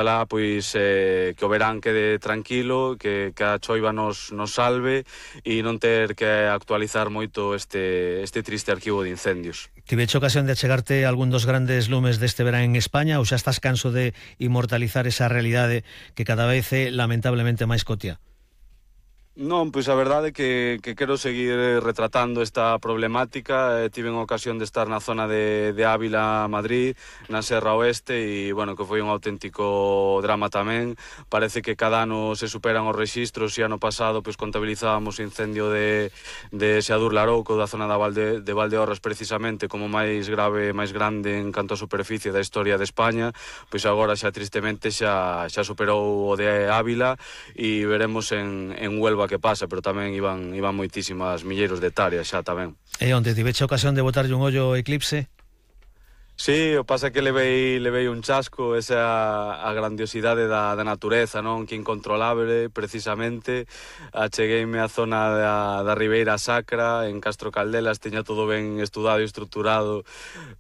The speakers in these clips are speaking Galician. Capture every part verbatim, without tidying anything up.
Ojalá, pois, eh, que o verán quede tranquilo, que, que a choiva nos, nos salve e non ter que actualizar moito este, este triste arquivo de incendios. Tiveche ocasión de achegarte algún dos grandes lumes deste verán en España ou xa estás canso de inmortalizar esa realidade que cada vez é lamentablemente máis cotiá? Non, pois a verdade é que, que quero seguir retratando esta problemática. eh, Tiven a ocasión de estar na zona de, de Ávila, Madrid, na Serra Oeste, e, bueno, que foi un auténtico drama tamén. Parece que cada ano se superan os rexistros, e ano pasado pois contabilizábamos o incendio de, de Seadur Larouco, da zona da Valde, de Valdeorras, precisamente, como máis grave, máis grande en canto a superficie da historia de España. Pois agora xa tristemente xa, xa superou o de Ávila, e veremos en, en Huelva que pasa, pero tamén iban, iban moitísimas milleiros de hectáreas xa tamén. E onde tiveche ocasión de botarlle un ollo ao eclipse? Sí, o pasa que levei, levei un chasco, esa a grandiosidade da, da natureza, non? Que incontrolable, precisamente. Achegueime á zona da, da Ribeira Sacra, en Castro Caldelas, teña todo ben estudado e estruturado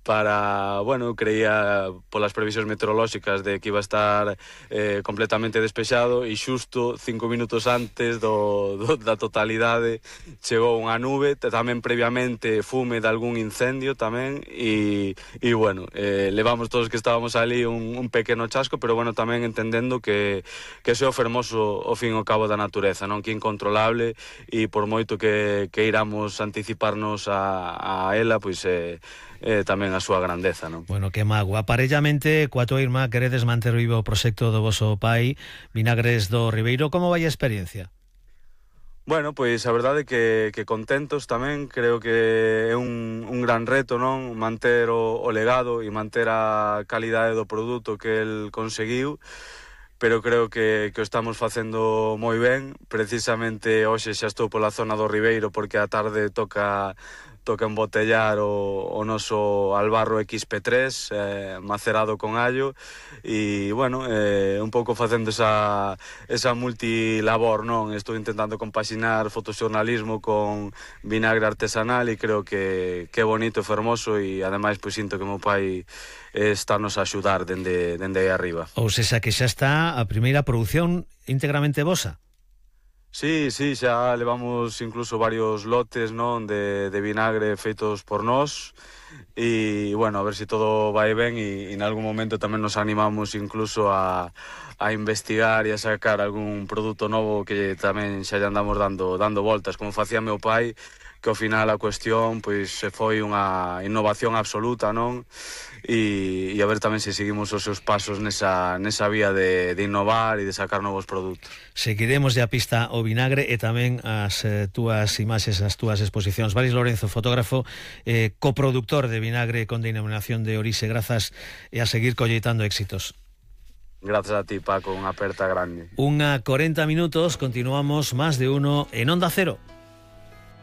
para, bueno, creía polas previsións meteorolóxicas de que iba a estar eh, completamente despexado, e xusto cinco minutos antes do, do, da totalidade chegou unha nube, tamén previamente fume de algún incendio tamén, e, e bueno, Bueno, eh, levamos todos que estábamos ali un, un pequeno chasco, pero bueno, tamén entendendo que, que ese é o fermoso o fin ao cabo da natureza, non? Que é incontrolable, e por moito que, que iramos anticiparnos a, a ela, pois é eh, eh, tamén a súa grandeza, non? Bueno, que mago. Aparellamente, coa tua irmá, queredes manter vivo o proxecto do voso pai, Vinagres do Ribeiro. Como vai a experiencia? Bueno, pois a verdade é que, que contentos tamén. Creo que é un, un gran reto, non? Manter o, o legado e manter a calidade do produto que el conseguiu, pero creo que, que o estamos facendo moi ben. Precisamente hoxe xa estou pola zona do Ribeiro, porque a tarde toca toca embotellar o, o noso albarro equis pe tres, eh, macerado con allo, e, bueno, eh, un pouco facendo esa, esa multilabor, non? Estou intentando compaxinar fotoxornalismo con vinagre artesanal, e creo que, que é bonito e fermoso, e ademais pois sinto que o meu pai está nos a axudar dende, dende aí arriba. Ou sexa que xa está a primeira produción íntegramente vosa? Sí, sí, xa levamos incluso varios lotes, non, de, de vinagre feitos por nós, e, bueno, a ver se si todo vai ben, e, e en algún momento tamén nos animamos incluso a, a investigar e a sacar algún produto novo que tamén xa lle andamos dando, dando voltas, como facía meu pai, que ao final a cuestión pois foi unha innovación absoluta, non? E, e a ver tamén se seguimos os seus pasos nesa, nesa vía de, de innovar e de sacar novos produtos. Seguiremos de a pista o vinagre e tamén as eh, túas imaxes, as túas exposicións. Valis Lorenzo, fotógrafo, eh, coproductor de vinagre con denominación de orixe. Grazas, e a seguir colleitando éxitos. Grazas a ti, Paco, unha aperta grande. Unha corenta minutos, continuamos Más de Uno en Onda Cero.